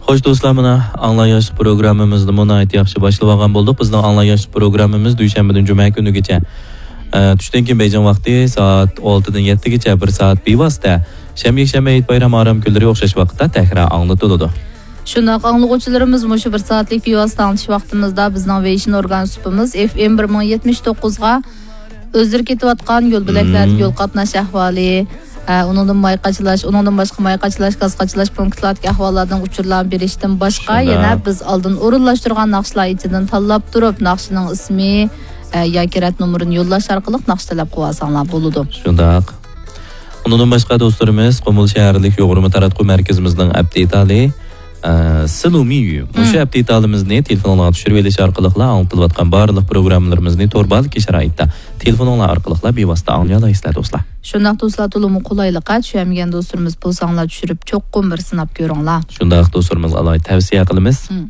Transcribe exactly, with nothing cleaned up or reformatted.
خوش دوستلار، مانا ئاڭلار ياشلىق پروگراممىمىزنىمۇ ناھايىتى ياخشى باشلىۋالغان بولدۇق. بىزنىڭ ئاڭلار ياشلىق پروگراممىمىز دۈشەنبىدىن جۈمە كۈنىگىچە، ئە، چۈشتىن كېيىن بېيجىڭ ۋاقتى سائەت ئالتىدىن يەتتىگىچە بىر سائەت بىۋاسىتە، شەنبە، يەكشەنبە، ھېيت بايرام ئارام كۈنلىرى ئوخشاش ۋاقىتتا تەكرار ئاڭلىتىلىدۇ. شۇنداق، ئاڭلىغۇچىلىرىمىز مۇشۇ بىر سائەتلىك بىۋاسىتە ئاڭلىتىش ۋاقتىمىزدا بىزنىڭ ۋېيشىن ئورگان سۇپىمىز ئېف ئېم بىر مىڭ يەتمىش توققۇزغا ئۆزلىرى كېتىۋاتقان يول بۆلەكلەردىكى مم. يول قاتناش ئەھۋالى، ئە، ئۇنىڭدىن ماي قاچىلاش، ئۇنىڭدىن باشقا ماي قاچىلاش، گاز قاچىلاش پونكىتلاردىكى ئەھۋاللاردىن ئۇچۇرلارنى بېرىشتىن باشقا، شۇنداق. يەنە بىز ئالدىن ئورۇنلاشتۇرغان ناخشىلار ئىچىدىن تاللاپ تۇرۇپ، ناخشىنىڭ ئىسمى، ئە، ياكى رەت نومۇرىنى يوللاش ئارقىلىق ناخشا تەلەپ قىلىۋالساڭلار بولىدۇ. شۇنداق. ئۇنىڭدىن باشقا دوستلىرىمىز قۇمۇل شەھەرلىك يۇغۇرما تاراتقۇ مەركىزىمىزنىڭ ئەپ دېتالى، ئە، سىلۇمىيۈ. مۇشۇ مم. ئەپ دېتالىمىزنى تېلېفونۇڭلارغا چۈشۈرۈۋېلىش ئارقىلىقلا ئاڭلىتىلىۋاتقان بارلىق پروگراممىلىرىمىزنى تور بارلىقى شارائىتتا تېلېفونۇڭلار ئارقىلىقلا بىۋاسىتە ئاڭلىيالايسىلەر، دوستلار. شۇنداق، دوستلار، تولىمۇ قولايلىق. چۈشەنمىگەن دوستلىرىمىز بولساڭلار چۈشۈرۈپ چوقۇم بىر سىناپ كۆرۈڭلار. شۇنداق، دوستلىرىمىزغا ئالاھىدە تەۋسىيە قىلىمىز. مم.